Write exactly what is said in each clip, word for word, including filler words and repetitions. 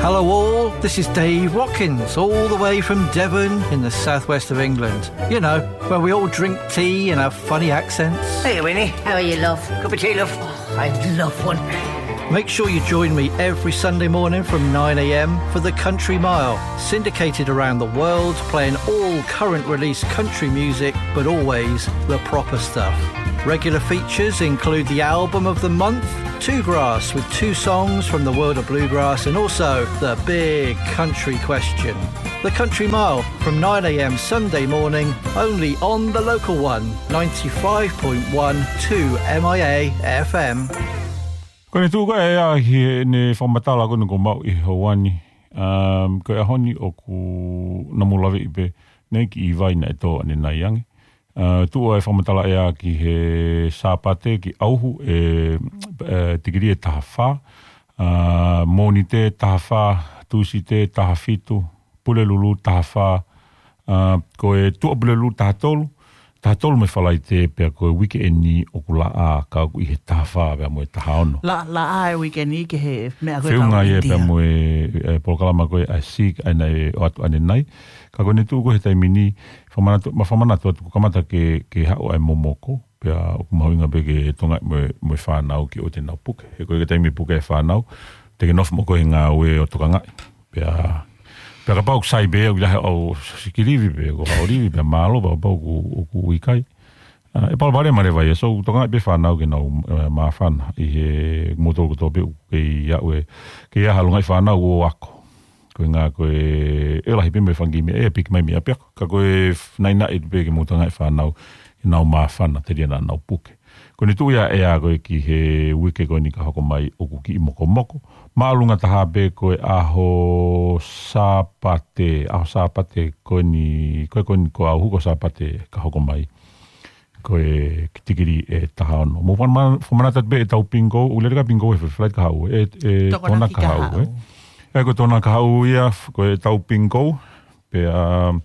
Hello all, this is Dave Watkins, all the way from Devon in the southwest of England. You know, where we all drink tea and have funny accents. Hey, Winnie. How are you, love? Cup of tea, love? Oh, I'd love one. Make sure you join me every Sunday morning from nine a.m. for The Country Mile, syndicated around the world, playing all current release country music, but always the proper stuff. Regular features include the album of the month, Two Grass, with two songs from the world of bluegrass, and also the big country question. The Country Mile from nine a.m. Sunday morning, only on the local one, ninety-five point one two M I A F M. Ko ʻene tuʻu ko ē ia ki heʻene fakamatala ko eni kuo mau ʻi Hauani. Um, ko e ʻaho ni ʻoku namu laveʻi pē, naʻe kiʻi vai naʻe tō ʻanenai ange. Uh, tuʻu ʻa e fakamatala ia ki he Sāpate ki ʻAuhu ʻe, ʻe tikilī ʻe taha fā. Uh, Mōnite taha fā, Tūsite taha fitu, Pulelulu taha fā. Uh, ko e Tuʻapulelulu taha tolu, taha tolu mei Falaite pea ko e uike eni ʻoku laʻā ka ʻoku ʻi he taha fā pea mo e taha ono. La, laʻā e uike ni ki he meʻa ko e Feʻunga ia pea mo e, e polokalama ko ē ʻa e Seek ʻa ia naʻe ʻoatu ʻanenai. Ka ko ʻene tuʻu ko ē he taimi ni, fakamanatu, ma fakamanatu atu kuo kamata ke, ke haʻu ʻa e momoko, pea ʻoku mahuʻinga pē ke tokangaʻi mo e, mo e fānau ke ʻoua te nau puke. He ko e taimi puke e fānau, te ke nofo mo koe he ngāue ʻo tokangaʻi. Pea, pea kapau ʻoku sai pē, ʻoku lahi ʻau sikilivi pē, ko hao livi pē, mālō, pea kapau ʻoku, ʻoku ʻikai. Uh, ʻe palopalema leva ia, so tokangaʻi pē fānau ke nau, uh, māfana, ʻi he moutolu kotoa pē ʻoku kei aʻu ē, kei ʻalu ngaahi fānau ʻo ako. Ko e ngā ko e, ʻe lahi pē mo e fanga kiʻi meʻa, ʻe piki mai mei ʻapiako. Ka ko e f-, naʻinaʻi pē ke mou tokangaʻi fānau, ke nau māfana, telia naʻa nau puke. Ko ʻene tuʻu ia ʻe ia ko ē ki he uike ko eni ka hoko mai ʻoku kiʻi mokomoko. Māʻolunga taha pē ko e ʻaho Sāpate, ʻaho Sāpate ko eni, ko e ko eni ko ʻAuhu ko Sāpate ka hoko mai. Ko e tikilī ʻe taha ono. Mou fakamanatu, fakamanatu atu pē ʻetau pingou, ʻoku lele ʻa e pingou he flight ka haʻu, ʻe, ʻe Tokonaki ka haʻu, ʻe. ʻE ko Tokonaki ka haʻu ia, f-, ko ʻetau pingou, pea, um,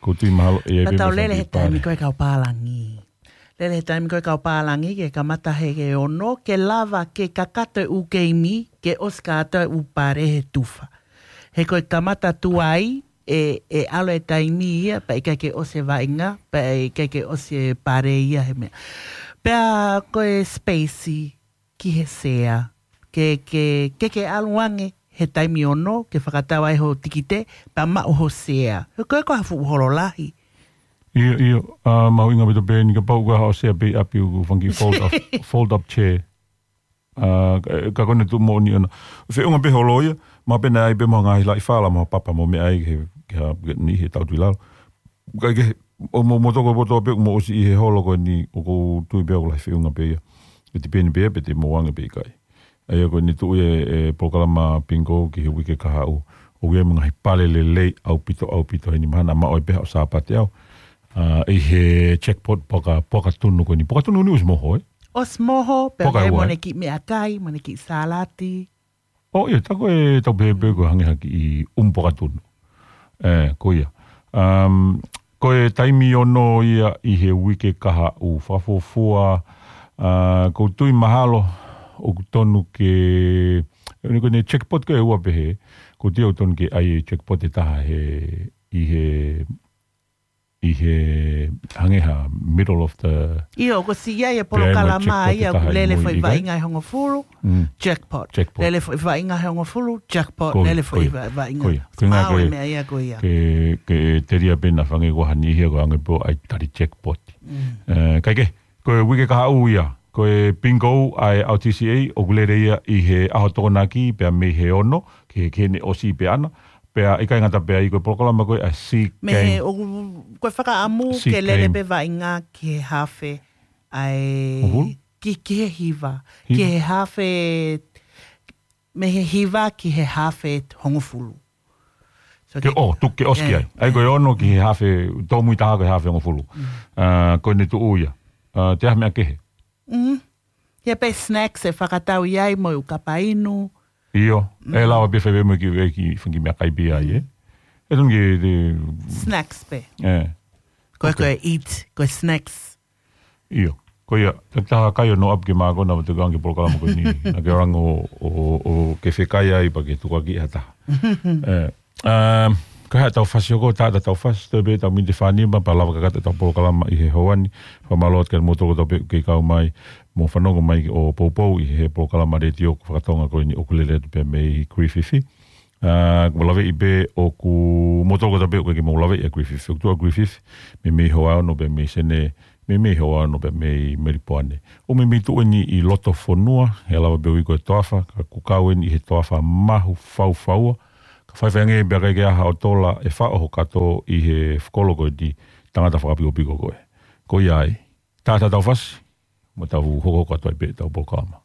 ʻoku ou tui mahalo, ʻe, Ka tau lele he taimi ko ē kau pālangi. Lele he taimi ko ē kau pālangi ke kamata he ke ono, ke lava ke kakato e ʻū keimi, ke ʻosi kātoa e ʻū pale he tufa. He ko e kamata tuai, ʻe, ʻe ʻalu e taimi ia, pea ʻikai ke ʻosi e vaʻinga, pea ʻikai ke ʻosi e pale ia he meʻa. Pea ko e space ki he sea, ke, ke, ke, ke ʻalu ange he taimi ono, ke fakatau ai ho tikite, pea maʻu ho sea. He ko e ko ha fuʻu holo lahi. ʻIo, ʻio, uh, mahuʻinga pē to pē ni kapau ko ha ʻosi ʻa pē ʻapi ʻoku fanga kiʻi fold up, fold up chair. Uh, ka, ka ko ʻene tuʻu moʻoni ʻona. Feʻunga pē holo ia, ma pena ai pē mo ngaahi laʻi fala, mo papa mo meʻa ai ke, ke, ke ni he tau tui lalo. Ka ke, ʻo mo, mo toko poto pē mo ʻosi ʻi he holo ko eni ʻoku ou tui pē ʻoku lahi feʻunga pē ia. ʻE tipeni pē ia pe te mou ange pe ʻikai. ʻA ia ko ʻene tuʻu e, e polokalama pingou ki he uike ka haʻu. ʻOku ʻi ai mo e ngaahi pale lelei ʻaupito, ʻaupito heni mahalo naʻa mau ʻai pē haʻo Sāpate au. Uh, ʻi he jackpot poka, poka tunu ko eni. Poka tunu ni ʻosi moho, ē? ʻOsi moho, pea Poka ʻoku ʻi ai ua, mo ē? ʻEne kiʻi meʻakai, mo ʻene kiʻi sālati. ʻO, ʻio, tā ko e tau pehē pē ko e hangē ha kiʻi ʻumu poka tunu. ʻE, ko ia. Um, ko e taimi ono ia ʻi he uike ka haʻu fakafuofua, uh, ʻoku ou tui mahalo ʻoku tonu ke, ʻeni ko ʻene jackpot ko e ua pehē, ʻoku ou tui ʻoku tonu ke ʻai e jackpot ʻe taha he, ʻi he, ʻi he hangē ha middle of the ʻIo, ko si ia e polokalama ia, ʻoku lele foʻi vaʻinga he hongofulu, jackpot. Jackpot. Lele foʻi vaʻinga he hongofulu, jackpot. Ko ia, Lele ko foʻi ia. va-, vaʻinga. Ko ia. Ko e ngā Mau ko e e meʻa ia ko ia. ke, ke telia pē naʻa fanga ʻoku ʻi ai ha niʻihi ia ko e hangē pē ʻoku ʻai tali jackpot. Mm. Eh, kae kehe, ko e uike ka haʻu ia, ko e pingou ʻa e ʻAu T C A, ʻoku lele ia ʻi he ʻaho Tokonaki pea mei he ono, ki he, ki heʻene ʻosi pē ʻana, pea ʻikai ngata pē ai ko e polokalama ko ē ʻa e Sea Mei he, Games. ʻoku, ko e fakaʻamu Sea ke lele Games. pē vaʻinga ki he hafe ʻa e Hongofulu? ki, ki he hiva, Hiva. ki he hafe, mei he hiva ki he hafe hongofulu. So Ke ke ʻo, tuku ke ʻosi ki ai. ʻAi ko e ono ki he hafe, tōmui taha ko e hafe hongofulu. Uh, ko ʻene tuʻu ia. Uh, te aha meʻa kehe? Mm. Ia pē snacks ʻe fakatau ʻi ai mo e ʻū kapa inu. ʻIo, ʻe lava pē fai pē mo e kiʻi, e kiʻi, fanga kiʻi meʻakai pē ai, ē? ʻE tonu ke, te Snacks pē. ʻE. Ko e, ko e eat, ko e snacks. ʻIo, Ko ia, taki taha kai ʻo no up ke mākona mo te kangi polokalama ko eni. Na ke rango ʻo, ʻo, ʻo ke fekai ai pea ke tukuakiʻi ha taha. Eh, um, ka ha tau fasi ʻoku taha tau fasi, toe pē tau miniti fānima, pea lava kakato tau polokalama ʻi he houa ni. Fakamālō atu kia moutolu kotoa pē ʻoku kei kau mai, mo fanongo mai ʻo poupou ʻi he polokalama letiō fakatonga ko eni ʻoku lele atu pē mei Griffith. ʻA, ʻoku mau laveʻi pē ʻoku moutolu kotoa pē ʻoku kei mau laveʻi ʻa Griffith. ʻOku tuʻu ʻa Griffith, meimei houa ono pē mei Senē, meimei houa ono pē mei Melipoane. ʻOku meimei tuʻu eni ʻi loto fonua, he lava pē ui ko e toafa, ka ʻoku kau eni ʻi he toafa mahu faufaua. Ka faifai ange pea ʻikai ke ʻi ai ha ʻotola ʻe faʻo ho kato ʻi he fekolo ko eni, tangata fakapikopiko koe. Ko ia ai, taha tau fasi, mo tau hokohoko atu ai pē tau polokalama.